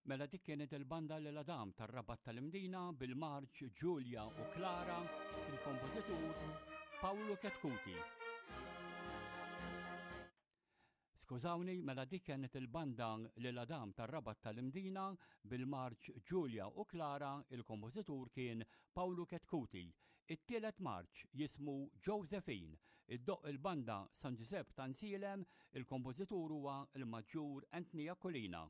Mela dik kienet il-banda Lil Adam tar-Rabat tal-Imdina bil-marċ Giulia u Clara, il-kompożitur Paolo Chetcuti. Skużawni, mela dik kienet il-banda Lil Adam tar-Rabat tal-Imdina bil-marċ Giulia u Clara, il-kompożitur kien Paolo Chetcuti. It-tielet marċ jismu Josephine, iddoqq il-banda San Ġużepp ta' Nsielem, il-kompożitur huwa l-Maġġur Anthony Aquilina.